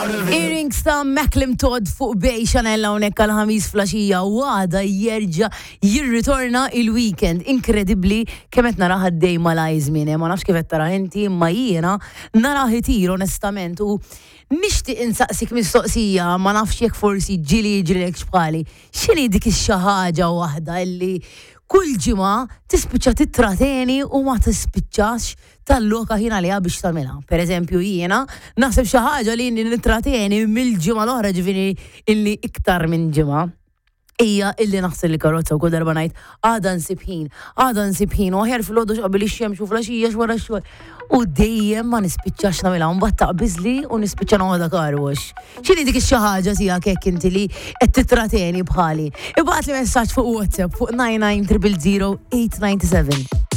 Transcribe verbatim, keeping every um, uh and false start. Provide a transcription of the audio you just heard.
Earrings ta' Macklin Todd fuq Bay Chanel hawnhekk għal ħamis filgħaxija u għada jerġa' jirritorna il-weekend. Inkredibbli kemm qed narah għaddej malajr żmien, eh, ma nafx kif qed tara inti, imma jiena narah itir onestament u nixtieq insaqsik mistoqsija, ma nafx jekk forsi ġieli jiġrilek bħali. X'inhi dik ix-xi ħaġa waħda illi kull ġimgħa tispiċċa titrateni u ma tispiċċax talloka ħin għaliha biex tagħmilha. Per eżempju jiena naħseb xi ħaġa li inni nitrateni mill-ġimgħa l-oħra ġifieri illi iktar minn ġimgħa hija illi naħsel il-karozza u kull darba ngħid għada nsib ħin, għada nsib ħin, u aħjar filgħodu qabel ix-xemx u filgħaxija wara x-xogħol. U dejjem ma nispiċċax nagħmilha, mbagħad taqbiżli u nispiċċa noħodha car wash. X'inhi dik ix-xi ħaġa tiegħek hekk inti li qed titrateni bħali? Ibgħatli messaġġ fuq WhatsApp fuq nine nine triple zero eight nine seven.